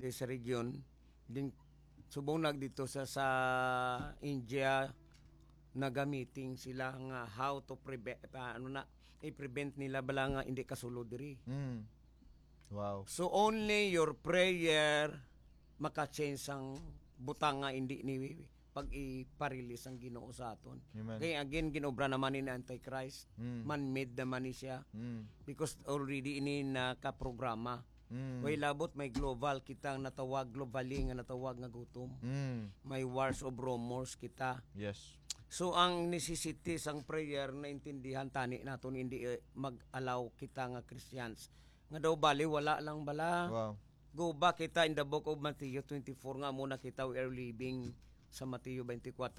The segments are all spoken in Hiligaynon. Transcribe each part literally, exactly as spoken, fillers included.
sa region, din subong nag dito sa, sa India, nagamiting sila nga how to prevent, ah, ano na, i-prevent nila bala nga hindi kasulod diri. Mm. Wow. So only your prayer maka-change ang butang nga hindi ni pag-iparilis ang Ginoo sa aton. Amen. Kay again, ginobra naman ni Antichrist. Mm. Man-made naman ni siya. Mm. Because already ini nakaprograma. Mm. Way labot may global kita nga natawag, globally nga natawag nga gutom. Mm. May wars of rumors kita. Yes. So ang necessity sang prayer naintindihan tani naton, hindi, eh, mag-allow kita nga Christians nga daw bali wala lang bala. Wow. Go back kita in the book of Matthew twenty-four nga amo na kita, we are living sa Mateo twenty-four.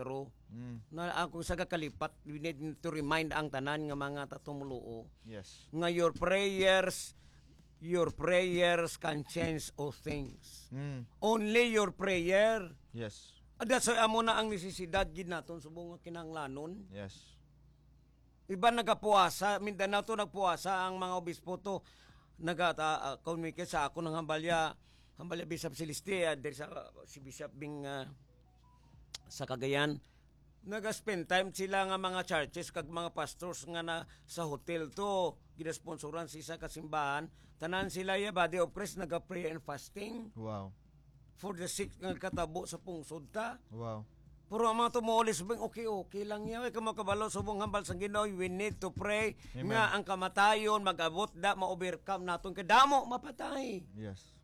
Mm. Na ako sa kakalipat, we need to remind ang tanan nga mga tatumuluo. Yes. Nga your prayers, your prayers can change all things. Mm. Only your prayer. Yes. And that's why amo na ang necesidad gid naton subong nga kinahanglanon. Yes. Iban nagapuasa, Mindanao to nagpuasa ang mga obispo to. Naga, ah, ah, communicate sa ako ng hambalya, hambalya Bishop Celeste, ah, diri sa, si Bishop Bing, ah, sa Cagayan. Naga-spend time sila nga mga churches kag mga pastors nga na sa hotel to, ginasponsoran sa isa ka simbahan. Tanan sila ya Body of Christ naga-prayer and fasting. Wow. For the sick nga katabo sa pungsod ta. Wow. Pero ang mga tumulis bing okay-okay lang yan. Kamo kabalo subong hambal sang Ginoo, we need to pray. Amen. Nga ang kamatayon mag-abot da, ma-overcome naton kay damo mapatay. Yes.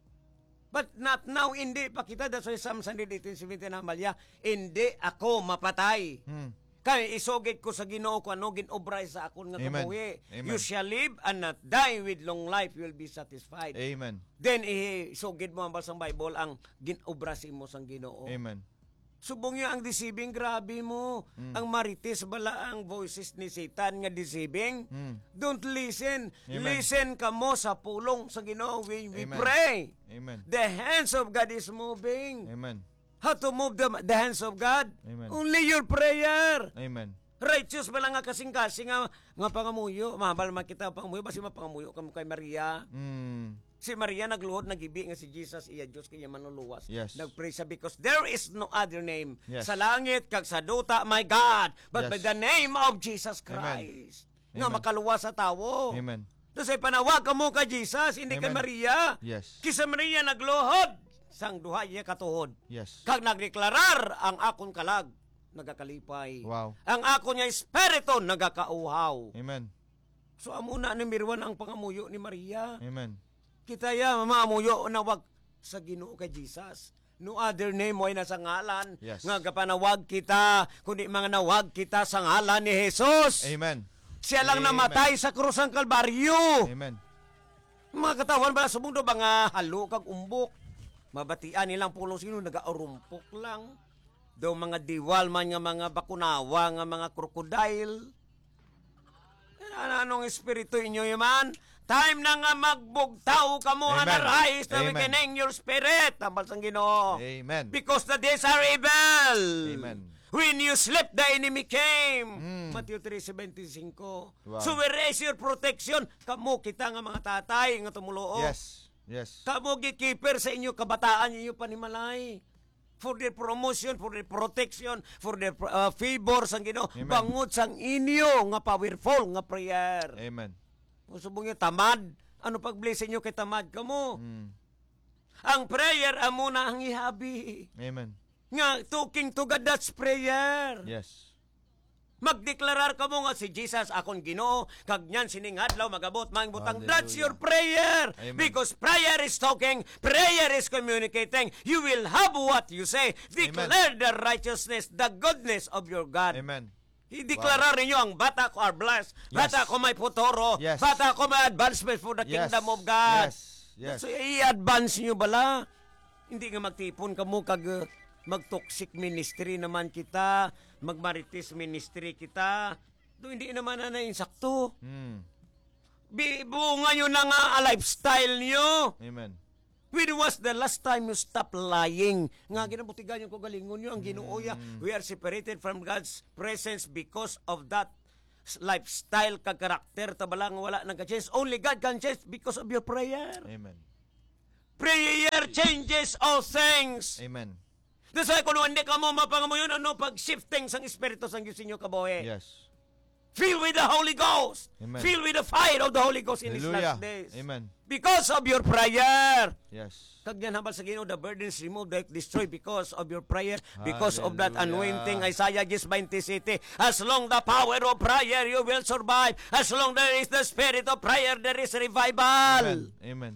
But not now, hindi pa kita. That's why Psalm one hundred eighteen seventeen na malya, "Hindi ako mapatay." Hmm. Kay isugid ko sa Ginoo kung ano ginobra sa akon nga Amen. Kabuhi. Amen. You shall live and not die, with long life you will be satisfied. Amen. Then isugid mo ang basang Bible ang ginobra sa imo sang Ginoo. Amen. Subong niya ang deceiving, grabe mo. Mm. Ang marites bala ang voices ni Satan nga deceiving. Mm. Don't listen. Amen. Listen kamo sa pulong sa Ginoo when we Amen. Pray. Amen. The hands of God is moving. Amen. How to move the, the hands of God? Amen. Only your prayer. Amen. Righteous ba lang nga kasing-kasing nga, nga pangamuyo? Mahambal man kita pangamuyo, basi mapangamuyo kamo kay Maria. Mm. Si Maria nagluhod, nagibi nga si Jesus iya Dios kay iya manluluwas. Yes. Nagpray siya because there is no other name Yes. sa langit kag sa duta, my God, but by Yes. the name of Jesus Amen. Christ nga Amen. Makaluwas sa tawo. Amen. Tapos ay panawag kamo kay Jesus, hindi kay Amen. Maria. Yes. Kay si Maria nagluhod sang duha iya katuhod. Yes. Kag nagdeklarar ang akon kalag nagakalipay. Wow. Ang akon nga espiritu nagakauhaw. Amen. So amo na number one ang pangamuyo ni Maria. Amen. Kita ya mamuyo na wag sa Ginoo kay Jesus. No other name, way na sa ngalan Yes. nga gapanawag kita, kundi mga nawag kita sa ngalan ni Jesus. Amen. Siya lang Amen. Namatay sa krus sang Kalbaryo. Amen. Mga katawhan ba subong do mga halo kag umbok? Mabatian nilang pulong sino nagaurumpok lang. Do mga diwal man nga mga bakunawa nga mga crocodile. Ano, anong espiritu inyo man? Time na nga magbugtaw kamo, Amen. Arise na Amen. Awakening your spirit. Tambal sang Ginoo. Amen. Because the days are evil. Amen. When you sleep, the enemy came. Mm. Matthew three seventy-five. Wow. So where is your protection? Kamo kita nga mga tatay nga tumuluo. Yes. Yes. Kamo gatekeeper sa inyo kabataan, inyo panimalay. For their promotion, for their protection, for their uh, favor sang Ginoo, Amen. Bangod sang inyo nga powerful nga prayer. Amen. Kung subong niyo tamad, ano pag-bless sa inyo kay tamad kamo? Mm. Ang prayer amo na ang ihabi. Amen. Nga talking to God, that's prayer. Yes. Magdeklarar kamo nga si Jesus akon Ginoo, kag niyan sining adlaw magabot maayong butang. Hallelujah. That's your prayer. Amen. Because prayer is talking, prayer is communicating. You will have what you say. Amen. Declare the righteousness, the goodness of your God. Amen. Ideklarar Wow. ninyo ang bata ko are blessed. Yes. Bata ko may futuro. Yes. Bata ko may advancement for the Yes. Kingdom of God. Yes. Yes. So, i-advance nyo bala. Hindi nga magtipon kamo kag, uh, mag-toxic ministry naman kita, mag-marites ministry kita. Do, hindi naman na insakto. Hmm. Bi-, bunga nyo na nga a lifestyle nyo. Amen. When was the last time you stop lying? Nga ginabutigan yung kagalingon nyo, ang Ginoo ya, Mm. we are separated from God's presence because of that s-, lifestyle kag karakter ta bala nga wala nagka-change. Only God can change because of your prayer. Amen. Prayer changes all things. Amen. That's why kung hindi ka mo mapangamuyon, ano, pag shifting sang Espiritu sang Diyos sa inyo kabuhi. Yes. Filled with the Holy Ghost. Amen. Filled with the fire of the Holy Ghost in these Hallelujah. Last days. Amen. Because of your prayer. Yes. Kag yan, hambal sa Ginoo, the burdens removed, the destroyed because of your prayer, because of that Hallelujah. Anointing. Isaiah ten twenty-seven. As long the power of prayer, you will survive. As long there is the spirit of prayer, there is revival. Amen. Amen.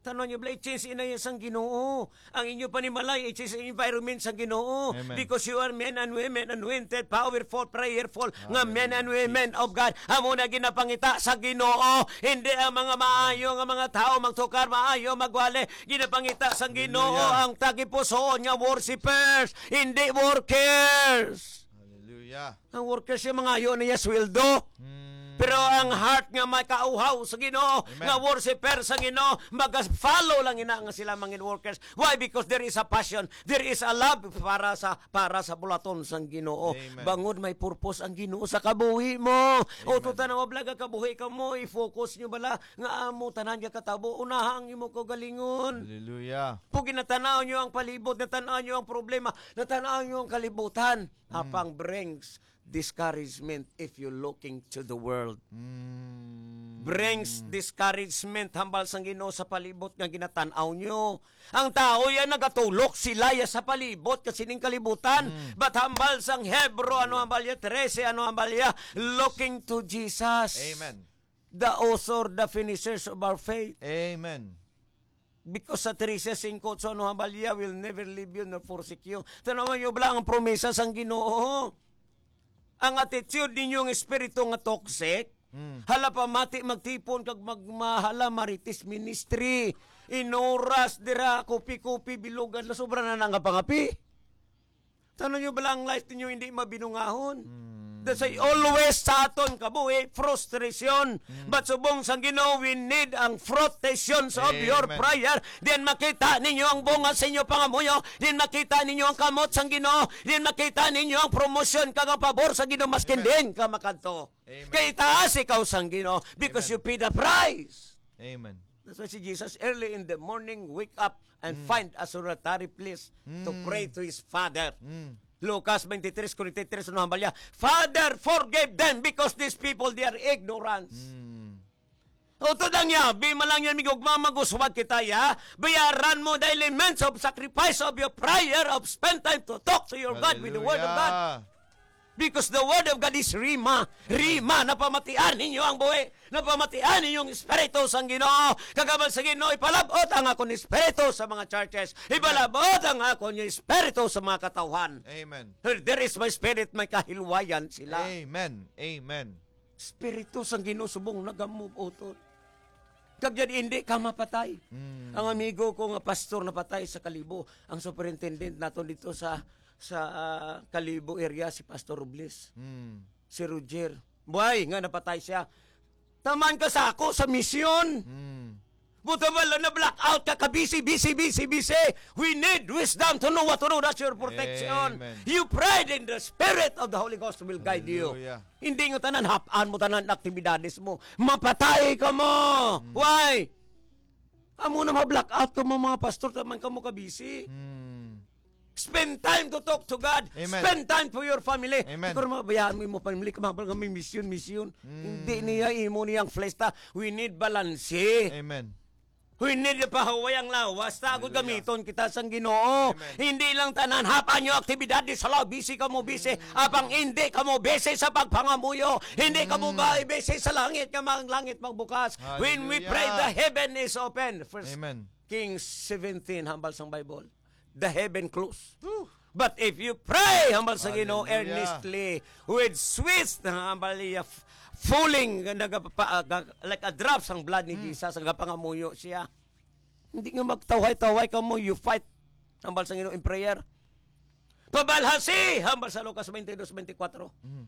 Tanaw niyo, bala, i-change ina sang Ginoo. Ang inyo panimalay, i-change ang environment sang Ginoo. Amen. Because you are men and women, anointed, powerful, prayerful, nga men and women of God. Hallelujah, Jesus. Amo na ginapangita sa Ginoo. Hindi ang mga maayo nga mga tao magtukar, maayo magwali. Ginapangita sang Ginoo Hallelujah. Ang tagipusoon nga worshipers, hindi workers. Hallelujah. Ang worker siya, mangayo niya sweldo. Mm. Pero ang heart nga may kauhaw sa Ginoo, Amen. Nga worshiper sa Ginoo, maga-follow lang ina nga sila mangin workers. Why? Because there is a passion, there is a love para sa, para sa bulaton sang Ginoo. Amen. Bangod may purpose ang Ginoo sa kabuhi mo. Amen. O, tuta na mablaga kabuhi ka mo, i-focus nyo bala nga amo tanan nga katabo, unaha ang imo kaugalingon. Hallelujah. Kung ginatanaw nyo ang palibot, natanaw nyo ang problema, natanaw nyo ang kalibutan, Mm. Apang brings discouragement if you looking to the world. Mm. Brings discouragement hambal sang Ginoo sa palibot nga ginatan-aw nyo. Ang tao yan nagatulok sila ya sa palibot ka sining kalibutan. Mm. But hambal sang Hebro, ano hambal ya? Trese, ano hambal ya? Looking to Jesus. Amen. The author, the finishers of our faith. Amen. Because sa trese singko, so ano hambal ya, will never leave you nor forsake you. Tanawan nyo bala ang promesa sang Ginoo. Ang attitude ninyo nga espiritu nga toxic, Mm. hala pamati magtipon kag magmahala marites ministry. Inuras dira, kopi-kopi, bilugan, na sobra na nga pangapi. Tanaw nyo bala ang life ninyo hindi mabinungahon? Mm. That's why always sa aton kabuhi, frustration. Mm. But subong sang Ginoo, we need ang frustrations of your Amen. Prayer. Then makita ninyo ang bunga sa inyo pangamuyo. Then makita ninyo ang kamot sang Ginoo. Then makita ninyo ang promotion kag ang pabor sa Ginoo, maskin Amen. Din ka makadto. Amen. Kay taas ikaw sang Ginoo because Amen. You pay the price. Amen. That's why si Jesus, early in the morning, wake up and Mm. Find a solitary place to Mm. Pray to his Father. Mm. Lucas twenty-three, forty-three, ano hambal niya? "Father, forgive them because these people, they are ignorant." Mm. Utod ang yabi, malang yan, migugma, maguswag kita, ya. Bayaran mo the elements of sacrifice of your prayer, of spend time to talk to your God with the word of God. Hallelujah. Because the word of God is Rhema. Rhema, napamatian ninyo ang buhi. Napamatian ninyo ang Espiritu sang Ginoo. Kag hambal sa Ginoo, ipalab-ot ang akon Espiritu sa mga churches. Amen. Ipalab-ot ang akon Espiritu sa mga katawhan. Amen. Where there is my spirit, may kahilwayan sila. Amen. Amen. Espiritu sang Ginoo subong nagamove utod. Kag yan, hindi ka mapatay. Mm. Ang amigo ko nga pastor napatay sa Kalibo, ang superintendent naton dito sa, sa, ah, Kalibo area, si Pastor Robles. Mm. Si Roger. Buhay nga napatay siya. Taman ka sa ako sa misyon. Mm. Buta wala na blackout ka, ka busy, busy, busy, busy. We need wisdom to know what to do. That's your protection. Amen. You prayed in the Spirit of the Holy Ghost will guide you. Hallelujah. Hindi nga tanan, hap-an mo tanan aktibidades mo. Mapatay ka mo. Mm. Why? Amo na ma-blackout ka mo, mga pastor, taman ka mo ka busy. Mm. Spend time to talk to God. Amen. Spend time for your family. Amen. Pero mabayaan mo imo family, kung mabal nga may mission, mission. Mm. Hindi niya imo niyang flesh ta. We need balance. Amen. We need pahuway ang lawas ta, agud Hallelujah. Gamiton kita sang Ginoo. Amen. Hindi lang tanan, hap-an nyo aktibidad di sa law, busy ka mo, busy. Mm. Apang hindi ka mo busy sa pagpangamuyo. Hindi ka mo Mm. ba busy sa langit, nga mga langit magbukas. When we pray, Hallelujah. The heaven is open. First Amen. Kings seventeen, hambal sang Bible. The heaven close. Whew. But if you pray, hambal sa Ginoo, Hallelujah. Earnestly, with sweet, hambal niya, f-, falling, nga nagapa-, ah, ga-, like a drop sang blood ni Mm. Jesus, nagapangamuyo siya. Hindi nga magtawhay-tawhay ka mo, you fight, hambal sa Ginoo, in prayer. Pabalhasi, hambal sa Lucas twenty-two twenty-four. Mm.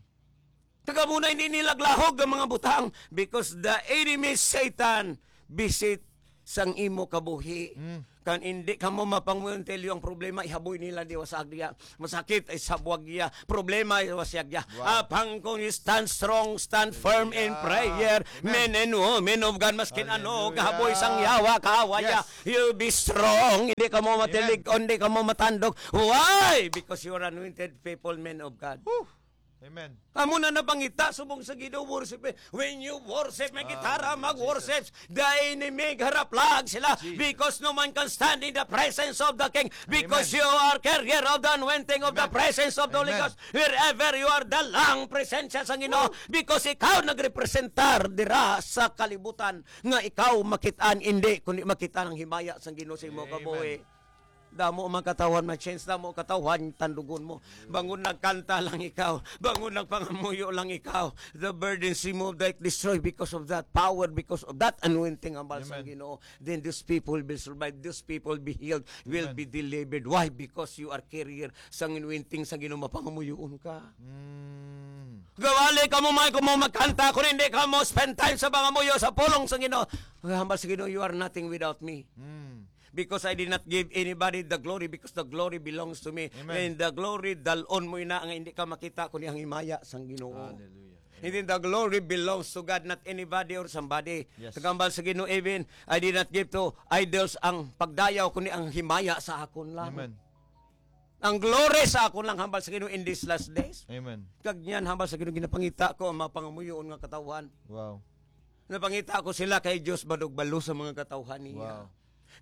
Kag amo na, hindi nila lahog ang mga butang because the enemy Satan visit sang imo kabuhi. Mm. Kan hindi ka mo mapanguyon, tell you, ang problema, ihaboy nila di wasagya. Masakit, ay sabwagya. Problema, ay wasagya. Wow. Apang kung you stand strong, stand firm in Hallelujah. Prayer, Amen. Men and women of God, maskin ano, Hallelujah. Kahaboy sang yawa, kahawaya, Yes. You'll be strong. Hindi ka mo matilig, Amen. Hindi ka mo matandog. Why? Because you are anointed people, men of God. Whew. Amen. Amo na napangita subong sa Ginoo, worship. When you worship, may gitara, Hallelujah, mag-worship. Jesus. The enemy, haraplag sila. Jesus. Because no man can stand in the presence of the King. Because Amen. You are carrier of the anointing of the Amen. Presence of the Holy Amen. Ghost. Wherever you are, dalang presensya sa Ginoo. Woo! Because ikaw nagrepresentar dira sa kalibutan nga ikaw makitaan, hindi, kundi makitaan ang himaya sang Ginoo sa imo Amen. Kabuhi. Damo ang mga katawhan, my chance, damo ang katawhan, tandugon mo. Bangon nagkanta lang ikaw, bangon nagpangamuyo lang ikaw. The burdens removed, like destroy because of that power, because of that anointing, ang balsang Amen. Ginoo. Then those people will survive, those people be healed, will Amen. Be delivered. Why? Because you are carrier sang anointing sang Ginoo, mapangamuyoon ka. Mm. Gawali ka mo, may kamo magkanta, kung hindi ka mo spend time sa pangamuyo, sa pulong sang Ginoo. Hambal sa Ginoo, you are nothing without me. Mm. Because I did not give anybody the glory, because the glory belongs to me. Amen. And the glory, dalon mo ina nga hindi ka makita, kundi ang himaya sang Ginoo. Hallelujah. And then the glory belongs to God, not anybody or somebody. Yes. Tagambal sa Ginoo, even I did not give to idols ang pagdayaw, kundi ang himaya sa akon lang. Amen. Ang glory sa akon lang, hambal sa Ginoo, in these last days. Amen. Kag niyan, hambal sa Ginoo, ginapangita ko ang mga pangamuyoon nga katawhan. Wow. Napangita ko sila kay Dios, balugbalo sa mga katawhan niya. Wow.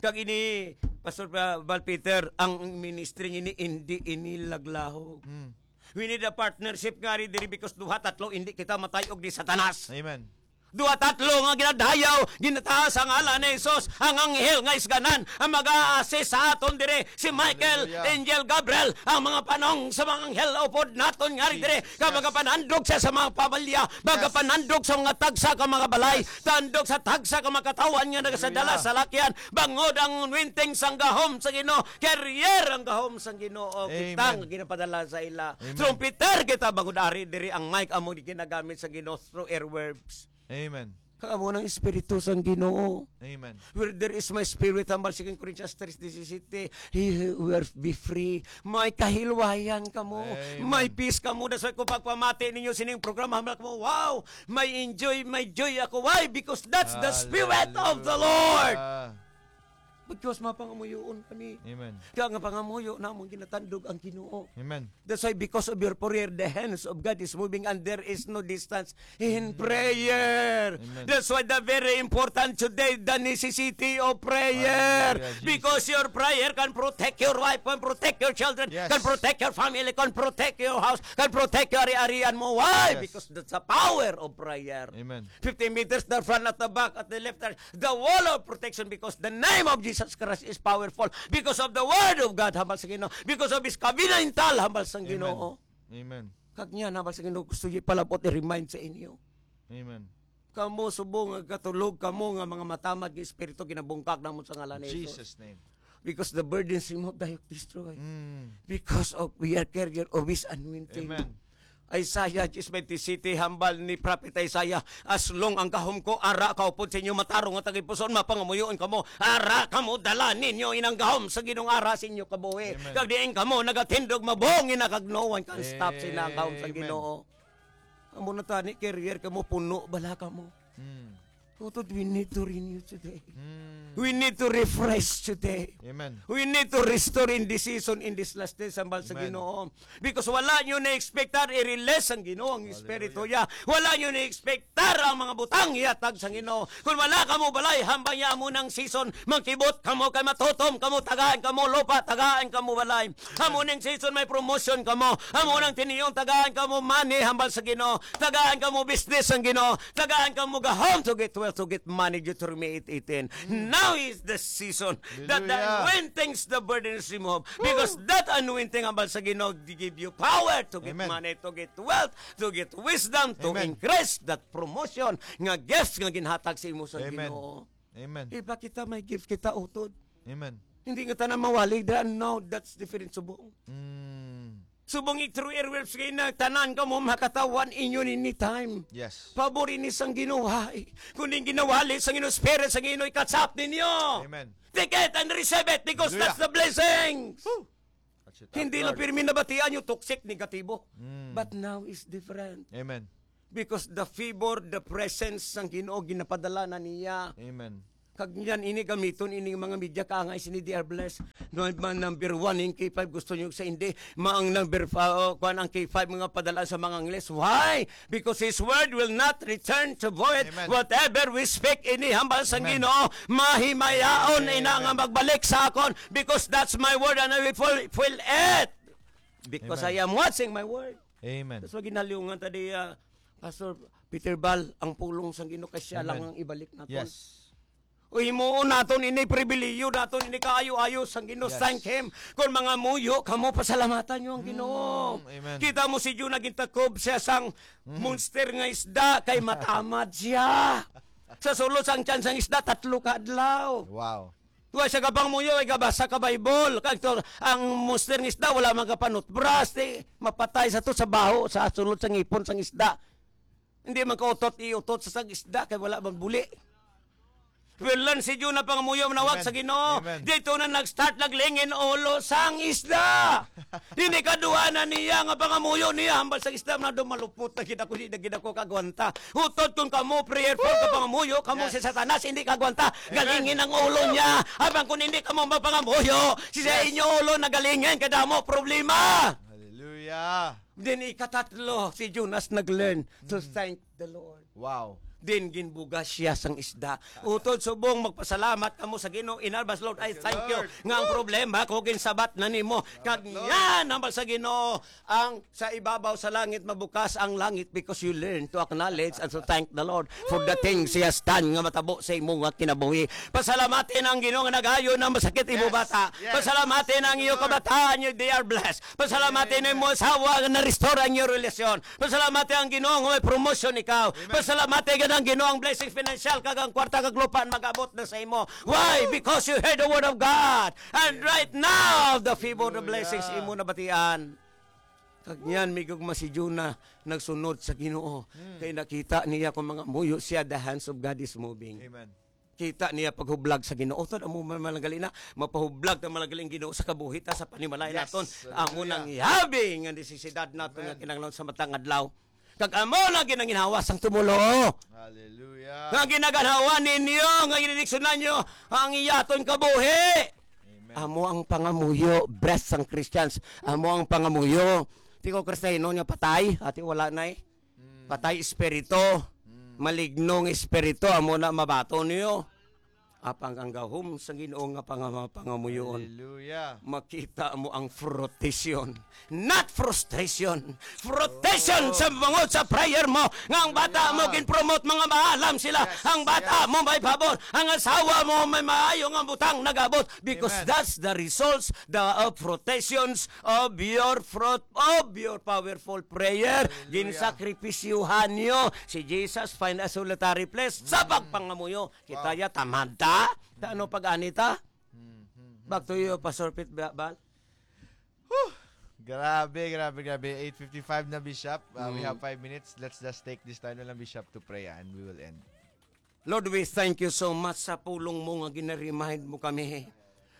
Kag ini, Pastor, uh, Val Peter, ang ministry ini, hindi ini laglahog. Mm. We need a partnership nga ri diri, because duha, tatlo, hindi kita matay-og ni Satanas. Amen. Duha, tatlo nga ginadayaw, ginataas ang ngalan ni Jesus, ang anghel nga isganan, ang mag-a-assist sa aton diri, si Michael, Hallelujah. Angel Gabriel, ang mga panong sa mga anghel, upod naton nga ri diri, Jesus. Ka magapanandog siya sa mga pamilya, Yes. Magapanandog sa mga tagsa ka mga balay, Yes. Tandog sa tagsa ka mga katawhan nga nagasadala Hallelujah. Sa lakyan, bangod ang anointing sang gahom sa Ginoo, carrier ang gahom sang Ginoo, kita Amen. Nga ginapadala sa ila. Amen. Trumpeter kita, bangod ari diri ang mic amo di ginagamit sa Ginoo through airwaves. Amen. Kag amo nang Espiritu sang Ginoo. Amen. Where there is my spirit, hambal Second Corinthians three disisete, he will be free. May kahilwayan kamo. Amen. May peace kamo. That's why kung pagpamati ninyo sining programa, hambal kamo, "Wow, may enjoy, may joy ako." Why? Because that's the Spirit of the Lord. Hallelujah. Because mapangamuyoon kami. Amen. Kaya nga pangamuyo namon ginatandog ang Ginoo. Amen. That's why because of your prayer, the hands of God is moving and there is no distance in Mm. Prayer. Amen. That's why the very important today, the necessity of prayer. Hallelujah, Jesus. Because your prayer can protect your wife, can protect your children, Yes. Can protect your family, can protect your house, can protect your ari-arian mo. Why? Yes. Because that's the power of prayer. Amen. Fifty meters the front, at the back, at the left, right. The wall of protection, because the name of Jesus Christ is powerful. Because of the word of God, hambal sa Ginoo. Because of His covenantal, hambal sa Amen. Ginoo. Amen. Kag niya, hambal sa Ginoo, gusto niya palabot i-remind sa inyo. Amen. Kamo subong nga katulog kamo nga mga matamad nga espiritu, ginabungkag namon sa ngalan ni Jesus. Jesus' name. Because the burdens removed, the yoke destroy. Mm. Because of we are carrier of His anointing. Amen. Isaiah ten twenty-seven, hambal ni Prophet Isaiah, "As long ang gahom ko ara kaupod sa inyo, matarong nga tagipusoon, mapangamuyoon kamo, ara kamo, dala ninyo inang gahom sa Ginoong ara sa inyo kabuhi. Amen. Kag diin kamo nagatindog, mabungi na, kag no one can stop," sila ang gahom sa Amen. Ginoo. Amo na tani, carrier kamo, puno bala kamo. Mm. Utod, we need to renew today. Mm. We need to refresh today. Amen. We need to restore in this season, in this last days, hambal sa Amen. Ginoo. Because wala nyo na-expectar i-release ang Ginoo ang Hallelujah. Espiritu niya. Wala nyo na-expectar ang mga butang ihatag sa Ginoo. Kung wala kamo balay, hambal niya, amo nang season, magkibot kamo kay matutom kamo, tagaan kamo lupa, tagaan kamo balay. Amo ning season may promotion kamo. Amo nang tiniyong tagaan kamo money, hambal sa Ginoo. Tagaan kamo business ang Ginoo. Tagaan kamo gahom to get wealth, to get money, Deuteronomy eight eighteen. Mm. Now is the season that the Hallelujah. Anointing, the burden is removed. Because Woo! That anointing, hambal sa Ginoo, they give you power to get Amen. Money, to get wealth, to get wisdom, to Amen. Increase that promotion nga gifts nga ginhatag sa imo sa Amen. Ginoo. Amen. Iba kita, may gift kita, utod. Amen. Hindi nga tanan mawali dira. No, that's different subong. Mm. Subong through airwaves kayo na tanan kamo makatawan inyo nini time. Yes. Pabor ini sang Ginoo, ay. Kundi ginawali sang Ginoo, Spirit sang Ginoo, i-catch up ninyo. Amen. Take it and receive it because Hallelujah. That's the blessings. Woo! That's it, Hindi lang Lord. Pirmi nabatian yung toxic, negatibo. Mm. But now is different. Amen. Because the favor, the presence sang Ginoo ginapadala na niya. Amen. Kag niyan ini gamiton ini mga media kaangay sini they are blessed. No, man number one in K five gusto niyo sa hindi. Ma ang number five, oh, kuan ang K five mga padala sa mga Angles. Why? Because His word will not return to void. Amen. Whatever we speak ini hambal sa Amen. Ginoo, mahimayaon Amen. ina nga magbalik sa akon because that's my word and I will fulfill it. Because Amen. I am watching my word. Amen. That's why ginaliwngan ta di, ah, Pastor Peter Bal, ang pulong sang Ginoo kay siya Amen. lang ang ibalik naton. Yes. O himuon naton ini pribilihiyo naton ini kaayo-ayo sang Ginoo. Yes. Thank him. Kung mga muyo kamo pasalamatan niyo ang Ginoo. Mm, amen. Kita mo si Jonah gintakob siya sang Mm. monster nga isda kay matamad siya. Sa sulod sang tiyan sang isda tatlo ka adlaw. Wow. Wa siya kapangamuyo, ay kabasa ka Bible. Kag to, ang monster nga isda, wala man kapanutbras. Di, mapatay sa to sa baho, sa sulod sa ngipon sang isda. Hindi man kautot, iutot sa sang isda, kay wala man buli. Well, lang si Jonah pangamuyo, manawag Amen. sa Ginoo. Amen. Dito na nag-start naglingin ulo sang isda. Hindi kaduha na niya nga pangamuyo niya. Hambal sa isda na dumalupot na gid ako, di na gid ako kagwanta. Utod kung kamo prayerful ka pangamuyo, kamo Yes. si Satanas, hindi kagwanta. Amen. Galingin ang ulo niya. Abang kung hindi kamo mapangamuyo, si sa Yes. inyo ulo nagalingin, kadamo problema. Hallelujah. Then ikatatlo, si Jonas nag-learn to thank the Lord. Wow. Din ginbugas siya sang isda. Utod subong magpasalamat kamo sa Ginoo, inarbas, "Lord, I Thank you, thank you Lord. nga ang problema ko ginsabot na nimo." Kag Lord. yan ang sa Ginoo, ang sa ibabaw sa langit mabukas ang langit because you learn to acknowledge and to thank the Lord for the things He has done nga matabo sa imo nga kinabuhi. Pasalamati na ang Ginoo nga nag-ayo na masakit imo Yes. bata. Yes. Pasalamati na ang iyo Lord. kabataan, you, they are blessed. Pasalamati na imo asawa nga na-restore ang iyo relasyon. Pasalamati ang Ginoo nga may promotion ikaw. Amen. Pasalamati gid ang Ginoo ang blessing financial kag ang kwarta kag lupa mag-abot na sa imo. Why? Because you heard the word of God. And right now, the favor, the Hallelujah. Blessings imo nabatian. Kag niyan, migugma si Jonah, nagsunod sa Ginoo. Hmm. Kay nakita niya kung mga muyo siya, the hands of God is moving. Amen. Kita niya paghublag sa Ginoo. Utod amo man, man gali na, mapahublag ta man gali ang Ginoo sa kabuhi ta, sa panimalay Yes. naton. Amo Hallelujah. Nang ihabi nga necessidad naton nga Amen. kinahanglan sa matang adlaw. Kag amo lang ginanginhawa sang tumulo. Hallelujah. Nga ginaganhawa ninyo, nga ginidiksyonan nyo ang iyaton kabuhi. Amen. Amo ang pangamuyo, best sang Christians. Amo ang pangamuyo. Ti ko Kristiyano nga patay, ati wala na eh. Mm. Patay espiritu. Mm. Maligno nga espiritu, amo na mabaton niyo. Apang ang gahom sa Ginoo nga pangama-, pangamuyoon. Hallelujah. Makita mo ang fruition, not frustration. Fruition Oh. Sa bangod sa prayer mo, nga ang bata mo Hallelujah. Gin-promote, mga maalam sila. Yes, Ang bata yes. mo may pabor, ang asawa mo may maayo nga butang nag-abot. Because Amen. That's the results, the uh, protections of your fruit, of your powerful prayer. Hallelujah. Ginsakripisyuhan niyo si Jesus, find a solitary place sa Mm. pagpangamuyo. Kita Wow. ya, tamad ta? Ta, ano pag-ani ta? Hmm, hmm, hmm. Back to you, Pastor Pete Ba-, Bal. Whew! Grabe, grabe, grabe. Eight fifty-five na, Bishop. Uh, we Mm. have five minutes. Let's just take this time na lang, Bishop, to pray, and we will end. Lord, we thank you so much sa pulong mo nga gina-remind mo kami.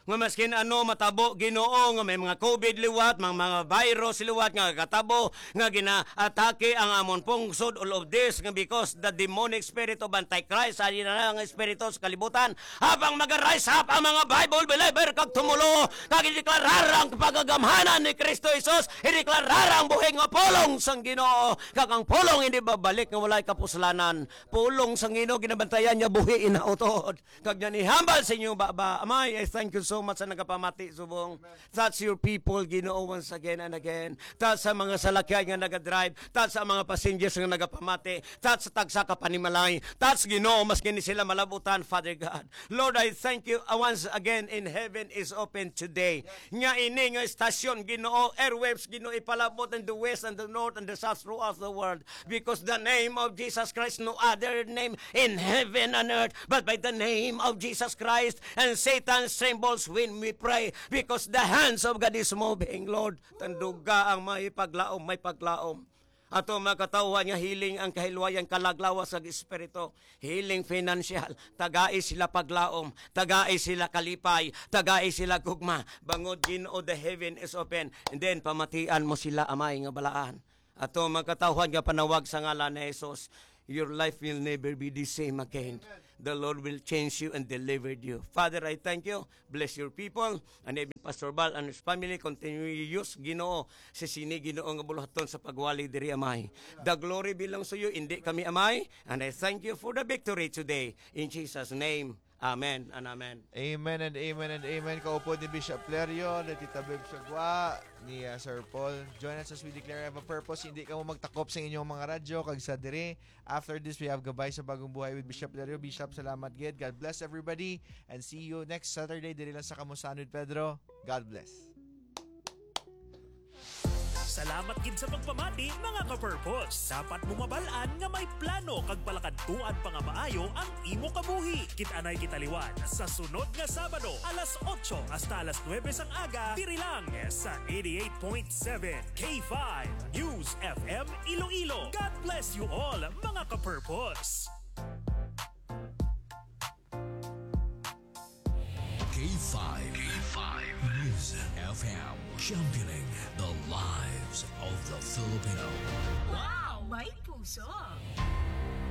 Nga maskin ano matabo, Ginoo, nga may mga covid liwat, mga, mga virus liwat nga katabo, nga ginaatake ang amon pungsod, all of this, nga because the demonic spirit of Antichrist, sa ina nga espiritu sa kalibutan, habang mag-rise up ang mga Bible believer kag tumulo, kag ideklarar ang pagagamhanan ni Kristo Jesus, ideklarar ang buhi nga pulong sang Ginoo, kag ang pulong hindi babalik nga walay kapuslanan. Pulong sang Ginoo, ginabantayan niya buhi inautod. Kag niya nihambal sa inyo baba. Amay, I thank you so much sa nagapamati subong. Touch your people, Ginoo, once again and again. Touch sa mga salakyan nga nagadrive. Touch sa mga passengers nga nagapamati. Touch sa tagsa ka panimalay. Touch, Ginoo, mas kini sila malabutan, Father God. Lord, I thank you, uh, once again in heaven is open today. Nga ini nga estasyon, Ginoo, airwaves, Ginoo, ipalabot in the west and the north and the south throughout the world. Because the name of Jesus Christ, no other name in heaven and earth, but by the name of Jesus Christ, and Satan trembles when we pray, because the hands of God is moving, Lord. Tanduga ang may paglaom, may paglaom. Ato mga katawhan nga healing ang kahilwayan, kalaglawas sa espiritu, healing financial, tagai sila paglaom, tagai sila kalipay, tagai sila gugma. Bangod, Ginoo, the heaven is open. And then, pamatian mo sila, Amay, nga balaan. Ato mga katawhan nga panawag sa ngalan ni Jesus, your life will never be the same again. The Lord will change you and deliver you. Father, I thank you. Bless your people. And even Pastor Bal and his family, continue to use, Ginoo, si sini, Ginoo, nga buluhaton sa pagwali diri, Amay. The glory belongs to you, hindi kami, Amay. And I thank you for the victory today. In Jesus' name, amen and amen. Amen and amen and amen. Kaupod ni Bishop Lerio, ni Tita Beb Sagwa, ni uh, Sir Paul. Join us as we declare have a purpose. Hindi ka mo magtakop sa inyong mga radyo, kag sa diri. After this, we have Gabay sa Bagong Buhay with Bishop Lerio. Bishop, salamat gid. God bless everybody. And see you next Saturday. Diri lang sa Kamusahan with Pedro. God bless. Salamat gid sa pagpamati, mga ka-purpose. Dapat mo mabal-an nga may plano kag palakadtuan pa nga maayo ang imo kabuhi. Kit-anay kita liwat sa sunod nga Sabado, alas otso hasta alas nuebe sang aga, diri lang sa eighty-eight point seven K five News F M Iloilo. God bless you all, mga ka-purpose. K five, K five News F M, championing the lives of the Filipino. Wow! May puso!